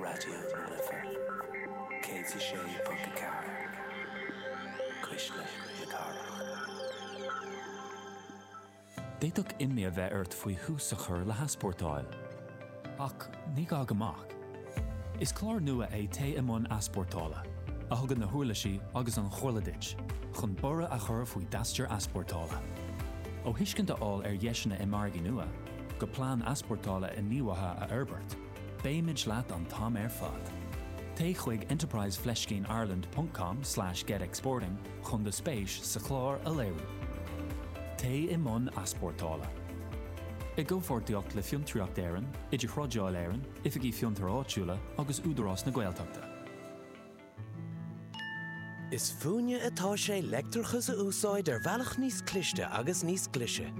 Raidió na Life 106.4, Cuisle na Cathrach. D'fhéadfadh imní a bheith ort faoi thús a chur le heaspórtáil. Ach ní gá go mbeadh. Is clár nua é Téigh i mbun Easpórtála, a thugann na huirlisí agus an chomhairle duit chun borradh a chur faoi d'aistear easpórtála. Ó thuiscint a fháil ar dheiseanna i margaí nua, go plean easpórtála inghníomhaithe a fhorbairt, beimid leat an t-am ar fad. Téigh chuig enterprise fleiscín ireland ponc com slash get exporting chun do spéis sa chlár a léiriú. Téigh i mbun easpórtála. I gcomhpháirtíocht le Fiontraíocht Éireann, Idirthrádáil Éireann, Oifigí Fiontair Áitiúla agus Údarás na Gaeltachta. Is fúinne atá sé leictreachas a úsáid ar bhealach níos cliste agus níos glaise.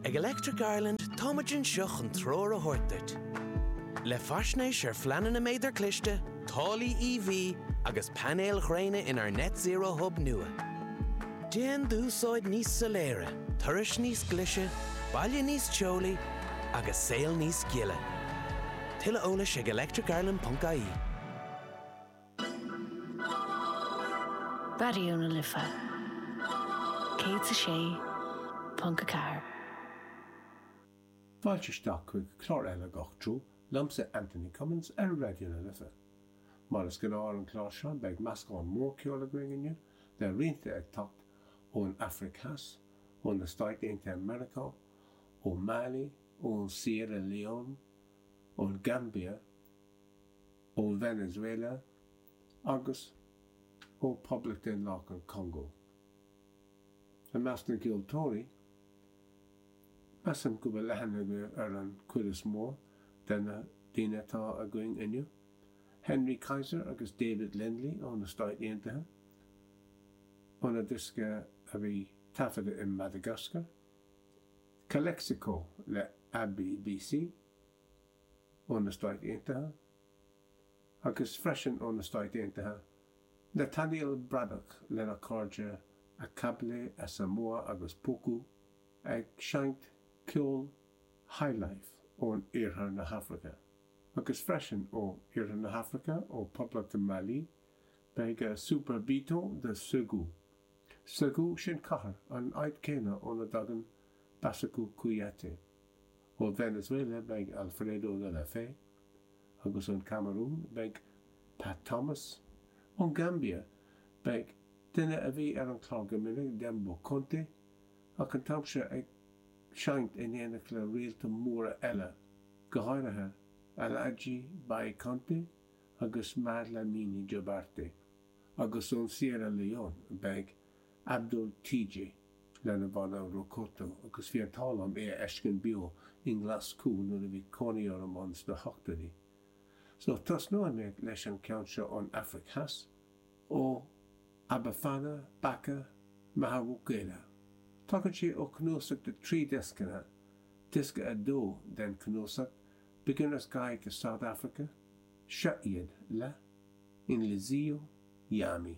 Ag Electric Ireland táimid anseo chun treoir a thabhairt duit. Le faisnéis ar phleananna méadar cliste, táillí EV agus painéil ghréine inár Net Zero Hub nua. Déan d'úsáid níos soiléire, turais níos glaise, baile níos teolaí agus saol níos gile. Tuilleadh eolais ag electricireland.ie. Raidió na Life 106.4. Fáilte isteach chuig clár eile Gach Treo, liomsa Anthony Cummins ar Raidió na Life. Mar is gnáth ar an chlár seo beidh meascán mór ceoil againn inniu, le rianta ag teacht ón Afraic Theas, ó na Stáit Aontaithe Meiriceá, ó Mali, ón Sierra Leone, ón Gambia, ó Venezuela agus ó Poblacht Daonlathach an Chongó. I measc na gceoltóirí, measaim go bhfuil aithne agaibh ar an chuid is mó de na daoine atá againn inniu, Henry Kaiser agus David Lindley ó na Stáit Aontaithe, óna diosca a bhí taifeadta i Madagascar, Calexico le ABC ó na Stáit Aontaithe, agus freisin ó na Stáit Aontaithe, Nathaniel Braddock lena chairde Akable Asamoah agus Poku ag seinnt ceol highlife ón Iarthar na hAfraice. Agus freisin ó Iarthar na hAfraice, ó Poblacht Mali, beidh Super Biton de Ségou. Ségou, sin cathair, an áit céanna óna dtagann Bassekou Kouyaté. Ó Venezuela beidh Alfredo de la Fe. Agus ón Camarún beidh Pat Thomas. Ón Gambia beidh duine a bhí ar an chlár go minic, Dembo Konte, ach an t-am seo ag seinnt in éineacht le réalta móra eile, go háirithe Alhaji Bai Konte agus Mad Lamine Jobarteh. Agus ón Sierra Leone beidh Abdul Teejay. lena bhanna Rocoto agus bhí an t-ádh liom é a fheiscint beo i nGlaschú nuair a bhí cónaí orm ann sna hochtóidí. So, tosnóidh mé leis an ceann seo ón Afraic Theas, ó Abafana Baka Mahawukela. Tagann sé ó chnuasach de thrí dioscanna, diosca 2 den chnuasach Beginner's Guide to South Africa, seo iad le Inhliziyo Yami.